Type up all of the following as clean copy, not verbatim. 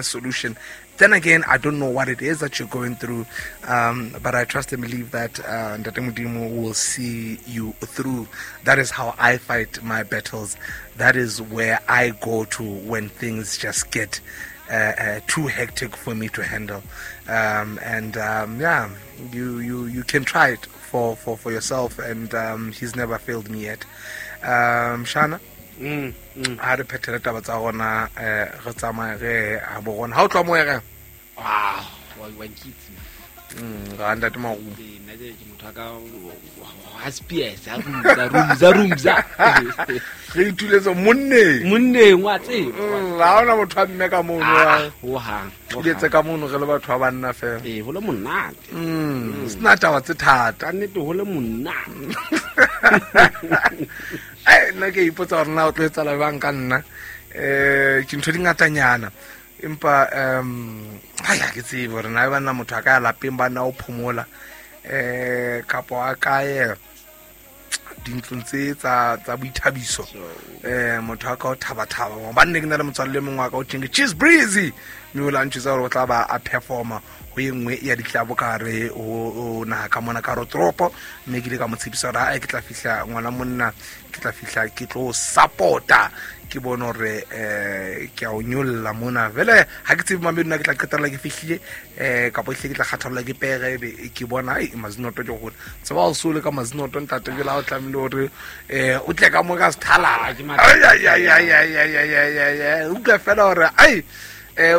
Solution. Then again, I don't know what it is that you're going through, but I trust and believe that Ntate Modimo will see you through. That is how I fight my battles. That is where I go to when things just get too hectic for me to handle. And yeah, you can try it for yourself, and he's never failed me yet. Shana, ha re phethele taba tsa rona, re tsamaye re a bo rona ha o tloha mo ere. Ah, wa nkitse. Ga ntate Marumo. Ee, nna ke motho wa ka ha spears ha rumza rumza rumza. Re ituletse monneng. Monneng wa tseba. Ha ona motho a mme ka mono. Ah, ho hang. Tuletse ka mono re le batho ba banna fela. Ee, ho le monate. Sena taba tse thata. Ka nnete ho le monate. Ai, nna ke ipotsa gore na o tlo etsala bang ka nna, ke ntho di ngatanyana, empa ai, ha ke tsebe gore na e banna motho a ka ya lapeng ba nna o phomola, kapo a kae dintlong tse tsa boithabiso, motho a ka o thaba-thaba banne. Ke na le motswalle mongwe wa ka o teng ke Cheese Breezy, mme o la ntjwetsa gore o tla ba a performa ho e nngwe ya ditlabo ka hare ho naha ka mona ka hare ho toropo, mme ke ile ka mo tshepisa gore ae, ke tla fihla ngwana monna, ke tla fihla ke tlo support-a, ke bone hore ke a o nyolla mona. Vele ha ke tsebe mamedi nna ke tla qetella ke fihlile, kapo ehlile ke tla kgathalela ke pere, ebe ke bona ai mazinoto ke gona tseba o sole ka mazinoto ntate jela o tlamehile hore o tle ka mo ka sethalala. Ah, ke ai ai ai ai ai ai ai ai ai ai, utlwa fela hore ai,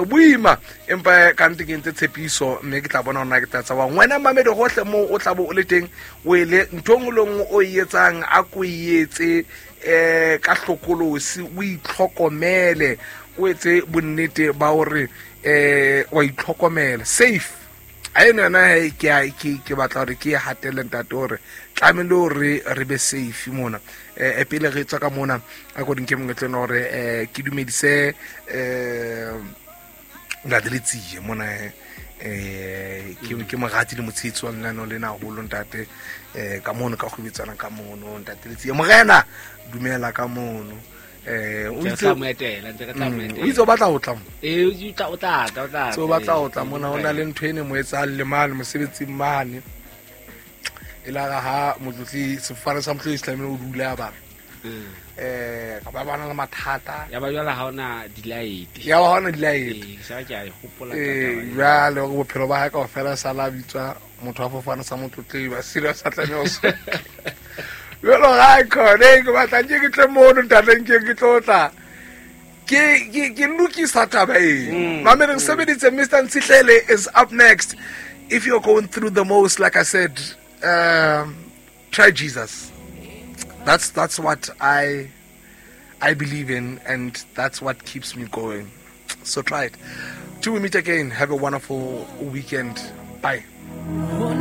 boima, empa ka nnete ke entse tshepiso, mme ke tla bona hore na ke tla tsabang. Wena mamedi gohle moo o tla bo o le teng, o ele ntho e nngwe le nngwe o e etsang, a ko e etse ka hlokolosi, o itlhokomele, o etse bonnete ba hore wa itlhokomela safe. A eno yona he, ke batla hore ke e hatelle ntate hore tlamehile hore re be safe mona. Pele re tswa ka mona, a ko dinke monyetleng hore ke dumedise ntate Letsie mona, ke morati le motshehetsi wa lenaneo lena haholo ntate, ka mono ka kgwebetsana ka mono. Ntate Letsie morena, dumela ka mono. O Ntse re itse tla mo etela, ntse re tla mo O etela. itse o batla ho tla mo. Ee, o tla tla, o tla Se o tla, batla ee. ho tla mona, ho na le ntho e ne mo etsang le mane mosebetsing mane, e la re ha motlotli sefofane sa motlotli se tlamehile o dule a bara kapa ba na le mathata. Ya ba jwale ha ona di-light. Ya ba ha ona di-light. Ee, sa ke a e hopola taba eo. Jwale hore bophelo ba hae kaofela sala a bitswa motho wa fofane sa motlotlei ba serious a tlameha ho jalo ga khone ke batla nke ke tle mono ntate, nke ke tlo tla ke lokisa taba e. Mameleng sebeditse. Mr Ntshihlele is up next. If you're going through the most, like I said, try Jesus. That's what I believe in, and that's what keeps me going. So try it. Till we meet again, have a wonderful weekend. Bye.